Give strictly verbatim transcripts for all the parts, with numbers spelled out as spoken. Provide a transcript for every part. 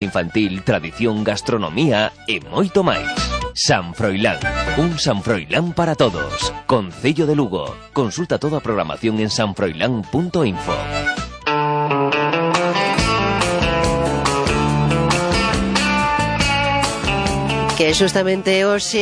infantil, tradición, gastronomía e moito máis. San Froilán, un San Froilán para todos. Concello de Lugo. Consulta toda a programación en sanfroilán punto info. Que justamente hoxe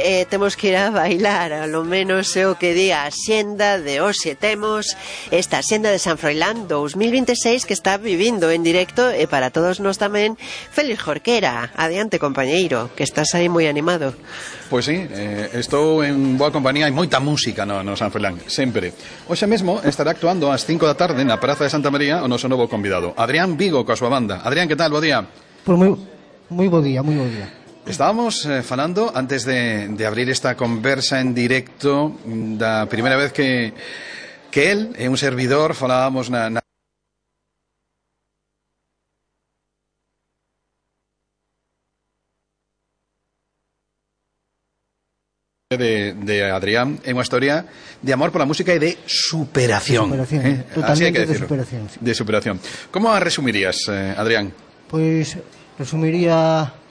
eh, temos que ir a bailar, a lo menos é o que di a xenda de hoxe. Temos esta xenda de San Froilán dos mil veintiséis que está vivindo en directo e para todos nós tamén Félix Jorquera. Adiante, compañeiro, que estás aí moi animado. Pois sí, eh, estou en boa compañía, hai moita música no, no San Froilán, sempre. Hoxe mesmo estará actuando ás cinco da tarde na Praza de Santa María o noso novo convidado, Adrián Vigo, coa súa banda. Adrián, que tal? Bo día. Pois moi, moi bo día, moi bo día. Estábamos eh, falando, antes de, de abrir esta conversa en directo, da primeira vez que, que él e un servidor falábamos na... na... De, de Adrián, é unha historia de amor pola música e de superación, de superación, eh? Así hai que decirlo. De superación, sí. De superación. Como a resumirías, eh, Adrián? Pois resumiría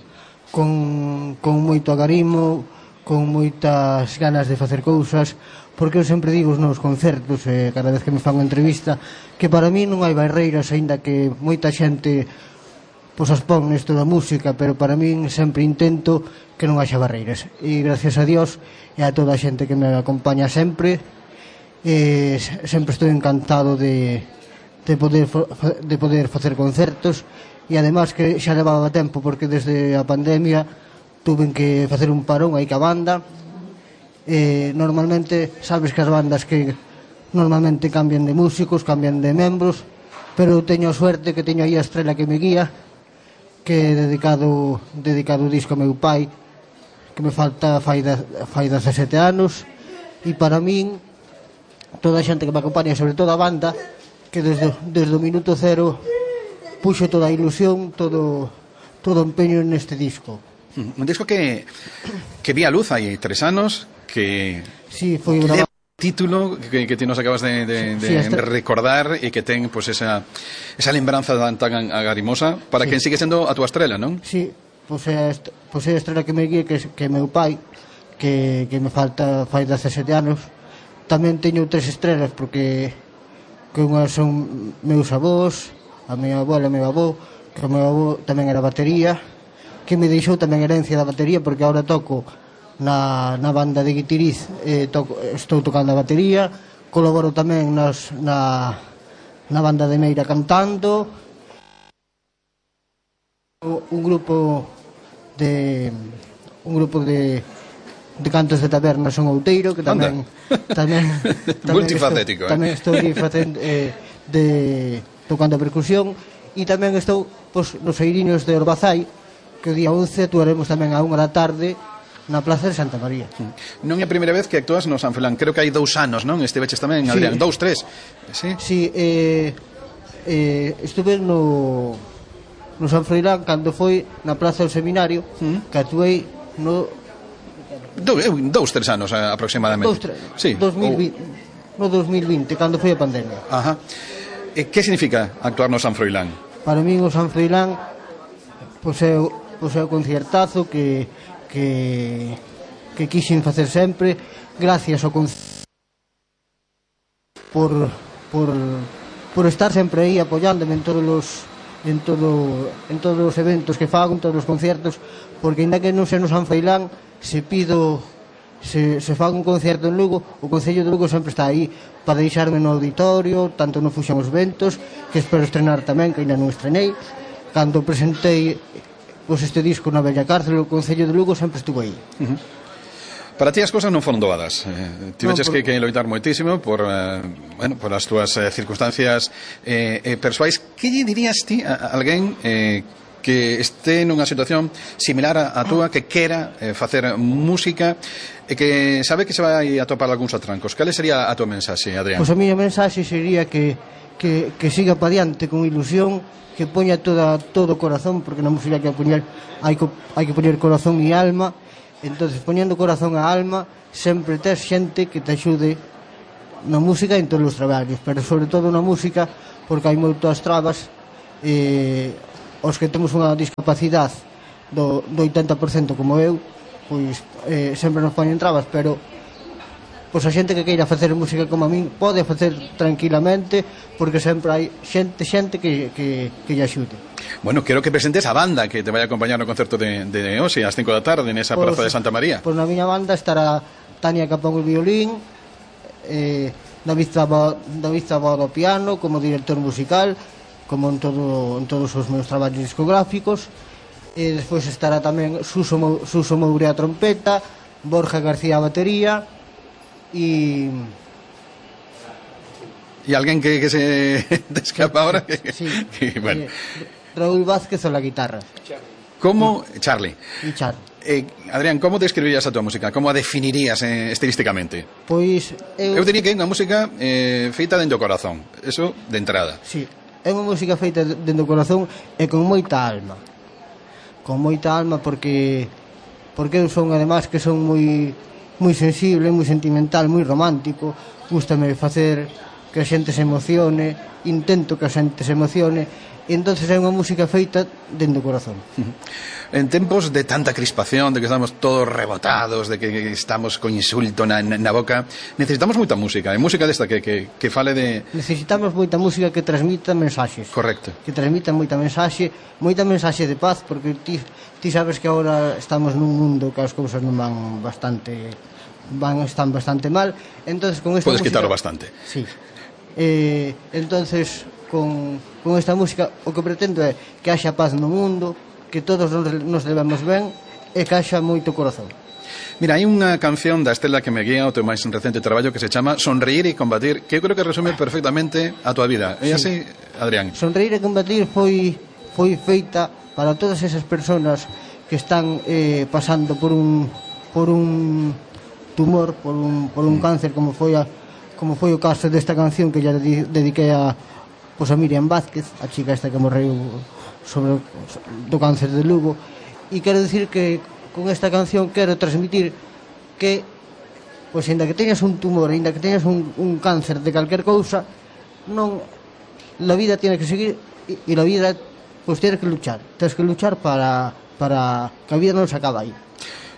con, con moito agarimo, con moitas ganas de facer cousas, porque eu sempre digo nos concertos, eh, cada vez que me fan unha entrevista, que para mí non hai barreiras, aínda que moita xente pois as pon nesto da música, pero para min sempre intento que non haxa barreiras. E gracias a Dios e a toda a xente que me acompaña sempre, eh, sempre estou encantado de, de, poder, de poder facer concertos. E ademais que xa levaba tempo, porque desde a pandemia tuven que facer un parón aí ca banda. Eh, normalmente, sabes que as bandas que normalmente cambian de músicos, cambian de membros, pero teño a suerte que teño aí a estrela que me guía, que é dedicado, dedicado o disco a meu pai, que me falta fai, de, fai dezasete anos, e para min, toda a xente que me acompaña, sobre todo a banda, que desde, desde o minuto cero puxo toda a ilusión, todo todo empeño neste disco. Un disco que que vi a luz hai tres anos, que sí, foi unha título que, que ti nos acabas de, de, de sí, esta... recordar e que ten pues, esa, esa lembranza tan, tan agarimosa para sí. Quen sigue sendo a túa estrela, non? Sí, pois é pues, pues a estrela que me guía, que, que meu pai, que, que me falta fai dezasete anos. Tamén teño tres estrelas, porque que unhas son meus avós, a miña abuela e o meu avó, que o meu avó tamén era batería, que me deixou tamén herencia da batería, porque agora toco na, na banda de Guitiriz, eh, toco, estou tocando a batería, colaboro tamén nas, na, na banda de Meira cantando, un grupo de un grupo de de cantos de taberna son Outeiro, que tamén tamén, tamén multifacético, estou, eh? tamén estou facendo eh, de tocando a percusión, e tamén estou pois, nos Eiriños de Orbazai, que o día once actuaremos tamén a unha da tarde na Plaza de Santa María. Non é a primeira vez que actúas no San Froilán, creo que hai dous anos, non? Estiveches tamén, sí. Adrián, dous, tres. Sí, sí eh, eh, estuve no no San Froilán cando foi na Plaza do Seminario, mm. que actuei no Do, dous, tres anos aproximadamente. Dous, tres, sí. dos mil vinte, oh. No dos mil vinte, cando foi a pandemia. Ajá. E que significa actuar no San Froilán? Para min o San Froilán pois é, pois é o concertazo que que que quixen facer sempre, gracias ao concerto, por por por estar sempre aí apoiándome en todos os en todo en todos os eventos que fago, en todos os concertos, porque ainda que non sea no San Froilán, se pido se, se fago un concerto en Lugo, o Concello de Lugo sempre está aí para deixarme no auditorio, tanto no Fuxamos Ventos, que espero estrenar tamén, que ainda non estrenei. Cando presentei pois, este disco na Bella Cárcel, o Concello de Lugo sempre estuvo aí. Uh-huh. Para ti as cousas non foron doadas, eh, tiveches no, por... que, que loitar moitísimo por, eh, bueno, por as túas eh, circunstancias eh, eh, persoais. Que lle dirías ti a, a alguén eh, que este nunha situación similar a, a túa, que quera eh, facer música e que sabe que se vai a topar algúns atrancos? Cal sería a tua mensaxe, Adrián? Pois a miña mensaxe sería que, que, que siga pa diante con ilusión, que poña toda, todo o corazón, porque na música hai que poñer, hai que, hai que poñer corazón e alma. Entonces, poñendo corazón a alma, sempre tes xente que te axude na música en todos os traballos, pero sobre todo na música, porque hai moitas trabas, eh, os que temos unha discapacidade do, do oitenta por cento como eu, pois eh, sempre nos poñen trabas, pero pois a xente que queira facer música como a min pode facer tranquilamente, porque sempre hai xente xente que, que, que lle axude. Bueno, quero que presentes a banda que te vai a acompañar no concerto de, de hoxe ás cinco da tarde nesa Pois, praza de Santa María. Pois na miña banda estará Tania Capón o violín, eh, David Zabó, David Zabó ao piano como director musical, como en, todo, en todos os meus traballos discográficos, e despois estará tamén Suso, Suso Moure a trompeta, Borja García a batería e... E alguén que, que se te escapa ahora que, sí, que, bueno. eh, Raúl Vázquez a la guitarra. Como, Charlie, E Charlie. eh, Adrián, como describirías a tua música? Como a definirías eh, estilísticamente? Pois eu... Eu diría que é unha música eh, feita dentro do corazón. Eso de entrada. Sí, é unha música feita dentro do corazón e con moita alma. Con moita alma porque porque eu son además que son moi moi sensible, moi sentimental, moi romántico. Gústame facer que a xente se emocione, intento que a xente se emocione, e entonces é unha música feita dentro do corazón. En tempos de tanta crispación, de que estamos todos rebotados, de que estamos con insulto na, na boca, necesitamos moita música, e música desta que, que, que fale de... Necesitamos moita música que transmita mensaxes. Correcto. Que transmita moita mensaxe, moita mensaxe de paz, porque ti, ti sabes que agora estamos nun mundo que as cousas non van bastante... van están bastante mal, entonces con esta Podes música... quitarlo bastante. Sí. Eh, entonces con, con esta música o que pretendo é que haxa paz no mundo, que todos nos, nos levemos ben e que haxa moito corazón. Mira, hai unha canción da Estela que me guía o teu máis recente traballo que se chama Sonreír e combatir, que eu creo que resume perfectamente a tua vida. É así, Adrián? Sonreír e combatir foi foi feita para todas esas persoas que están eh, pasando por un por un tumor, por un, por un cáncer, como foi a como foi o caso desta canción que ya dediquei a, pois a Miriam Vázquez, a chica esta que morreu sobre do cáncer de Lugo, e quero dicir que con esta canción quero transmitir que pois ainda que teñas un tumor, ainda que teñas un, un cáncer de calquer cousa, non, la vida tiene que seguir e, e la vida pois tienes que luchar, tienes que luchar para, para que a vida non se acaba aí.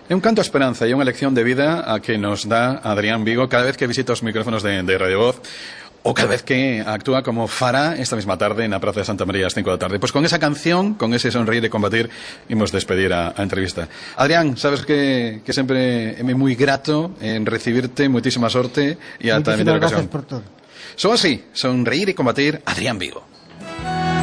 É un canto a esperanza e unha lección de vida a que nos dá Adrián Vigo cada vez que visita os micrófonos de, de Radio Voz, ou cada vez que actúa como fará esta mesma tarde na Praza de Santa María ás cinco da tarde. Pois con esa canción, con ese sonreír e combatir, imos despedir a, a entrevista. Adrián, sabes que, que sempre é moi grato en recibirte, moitísima sorte e ata a vindeira ocasión. Moitísimas gracias por todo. Só así, sonreír e combatir, Adrián Vigo.